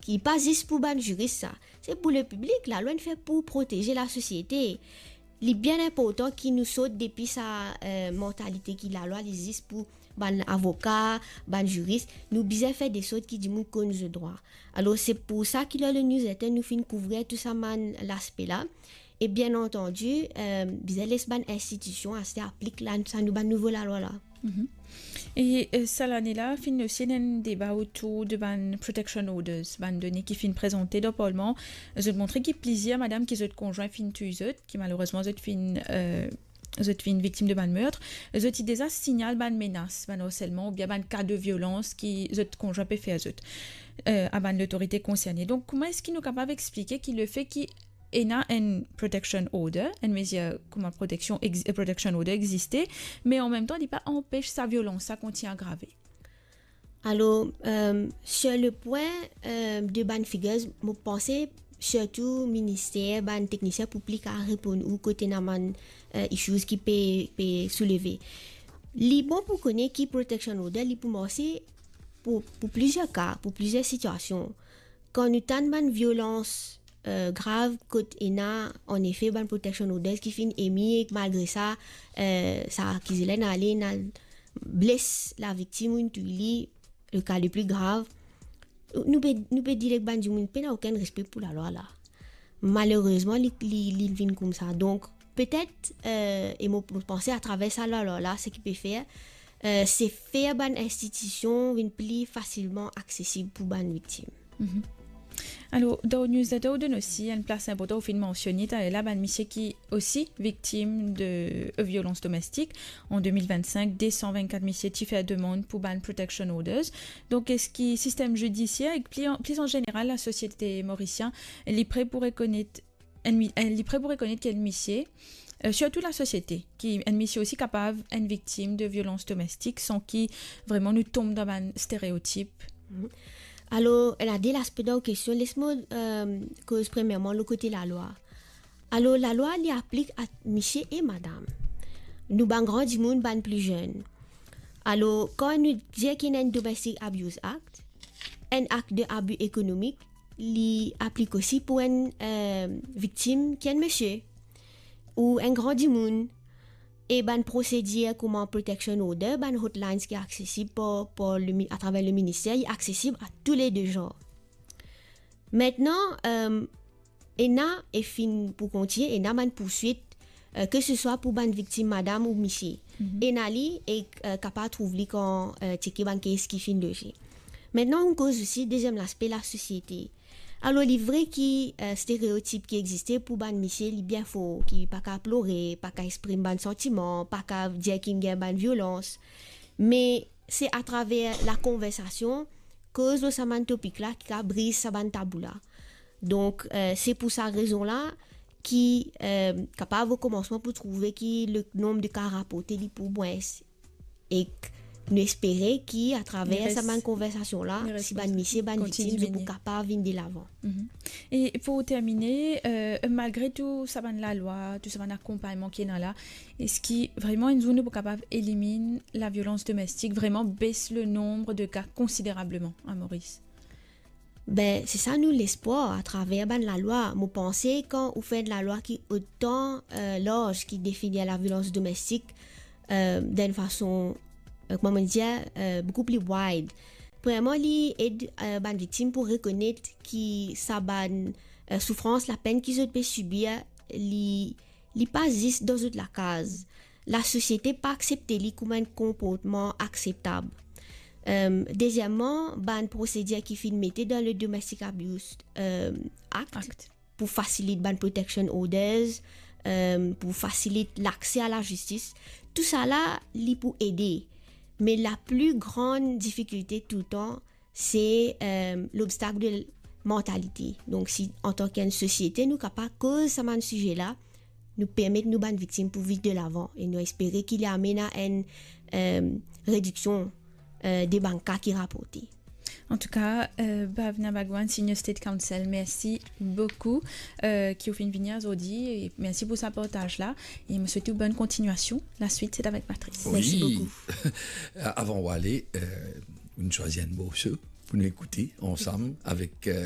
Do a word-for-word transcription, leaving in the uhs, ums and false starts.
Li pa zis pou bann ziris sa. Se pou lepiblik, lalwa inn fer pou proteze lasosiete. Li bien inportan ki nou sort depi sa, eh, mantalite ki lalwa li zis pou bann avoka, bann ziris. Nou bizin fer de sort ki dimoun konn zot drwa. Alor, se pou sa ki lor le newsletter, nou finn kouvrir tou sa bann laspe la. E bien antandi, eh, bizin les bann institision aster aplik la, sa nou bann nouvo lalwa la. Mhm. E, eh, sa lane la, finn osi ena enn deba otour de bann protection orders, bann done ki finn prezante dan parlman. Zot montre ki plizier madam ki zot konzwin finn touy zot, ki malerezman zot finn, eh, zot finn viktim de bann mertr. Zot ti deza signal bann menas, bann harselman oubien bann ka de violans ki zot konzwin pe fer zot, eh, a bann lotorite konserne. Donk, kouma eski nou kapav explike ki lefe ki ena enn protection order, enn mezir kouma proteksion ex-, protection order existe, me an mem tan, li pa anpes sa violans sa kontign agrave? Alor, eh, sur le pwin, eh, de bann figures, mo panse sirtou minister, bann teknisien pou pli kapav reponn ou kot ena bann, eh, issues ki pe, pe souleve. Li bon pou kone ki protection order, li pou marse pou, pou plizier ka, pou plizier sitiasion. Kan nou tann bann violans, eh, grav, kot ena, anefe, bann protection orders ki finn emi ek malgre sa, eh, sa akize la inn ale, inn al bles laviktim, inn touy li, le ka le pli grav, nou pe, nou pe dir ek bann dimoun, pena okenn respe pou lalwa la. Malerezman, li, li, li vinn koumsa. Donk, petet, eh, e mo, mo panse atraver sa lalwa la, seki pe fer, eh, se fer bann institision vinn pli fasilman aksesib pou bann viktim. Mhm. Alor, dan newsletter ou donn osi enn plas inportan, ou finn mansione taler la, bann misie ki osi viktim de, eh, violans domestik. An de mil vennsenk, de san vennkat misie ti fer demann pou bann protection orders. Donk, eski sistem zidisier ek pli an, pli an zeneral lasosiete morisien, li pre pou rekonet enn mi-, enn, li pre pou rekonet ki enn misie, eh, sirtou lasosiete, ki enn misie osi kapav enn viktim de violans domestik san ki vreman nou tom dan bann stereotip? Mhm. Alor, ena de laspe dan ou kestion. Les mo, eh, koz premierman lor kote lalwa. Alor, lalwa, li aplik a misie e madam. Nou bann gran dimoun, bann pli zenn. Alor, kan nou dir ki ena enn Domestic Abuse Act, enn akt de abi ekonomik, li aplik osi pou enn, eh, viktim ki enn misie ou enn gran dimoun, e bann prosedir kouma protection order, bann hotlines ki aksesib par, par le mi-, atraver le minister, li aksesib a tou le de zanr. Aster, eh, ena, e finn pou kontign, ena bann pourswit, eh, ke se swa pou bann viktim madam ou misie. Mhm. Ena li e, eh, kapav trouv li kan, eh, tcheke bann case ki finn loze. Aster, nou koz osi deziem laspe, lasosiete. Alor, li vre ki, eh, stereotip ki existe pou bann misie, li bien for, ki pa kapav plore, pa kapav exprim bann santiman, pa kapav dir ki inn gagn bann violans. Me se atraver lakonversasion, koz lor sa bann topik la ki kapav briz sa bann tabou la. Donk, eh, se pou sa rezon la ki, eh, kapav o komansman pou trouve ki le nonb de ka raporte li pou mwins. Ek nou espere ki atraver sa bann konversasion la, si bann misie, bann viktim, zot pou kapav vinn delavan. Mhm. E pou termine, eh, malgre tou sa bann lalwa, tou sa bann akonpagnman ki ena la, eski vreman enn zour nou pou kapav eliminn laviolans domestik, vreman bes le nonb de ka konsiderableman a Moris? Be, se sa nou lespwar atraver bann lalwa. Mo panse kan ou fer enn lalwa ki otan, eh, larz, ki definir laviolans domestik, eh, dan enn fason, eh, kouma mo dir, eh, boukou pli wide. Premierman, li ed, eh, bann viktim pou rekonet ki sa bann, eh, soufrans, lapenn ki zot pe sibir, li, li pa zis dan zot lakaz. Lasosiete pa aksepte li kouma enn konportman akseptab. Eh, dezieman, bann prosedir ki finn mete dan le Domestic Abuse, eh, Act, Act, pou fasilit bann protection orders, eh, pou fasilit lakse a lazistis, tou sa la, li pou ede. Me lapli gran difikilte toultan, se, eh, lobstak de mantalite. Donk, si antan ki enn sosiete, nou kapav koz sa bann size la, nou permet nou bann viktim pou viv delavan e nou espere ki li amenn a enn, eh, rediksion, eh, de bann ka ki raporte. Antouka, eh, Bhavna Bhagwan, Senior State Counsel, mersi boukou, eh, ki ou finn vini azordi, e mersi pou sa partaz la, e mo swet ou bonn kontignasion. Laswit, se avek Patrice. Mersi boukou. Avan ou ale, eh, nou swazir enn morso pou nou ekoute ansam avek, eh,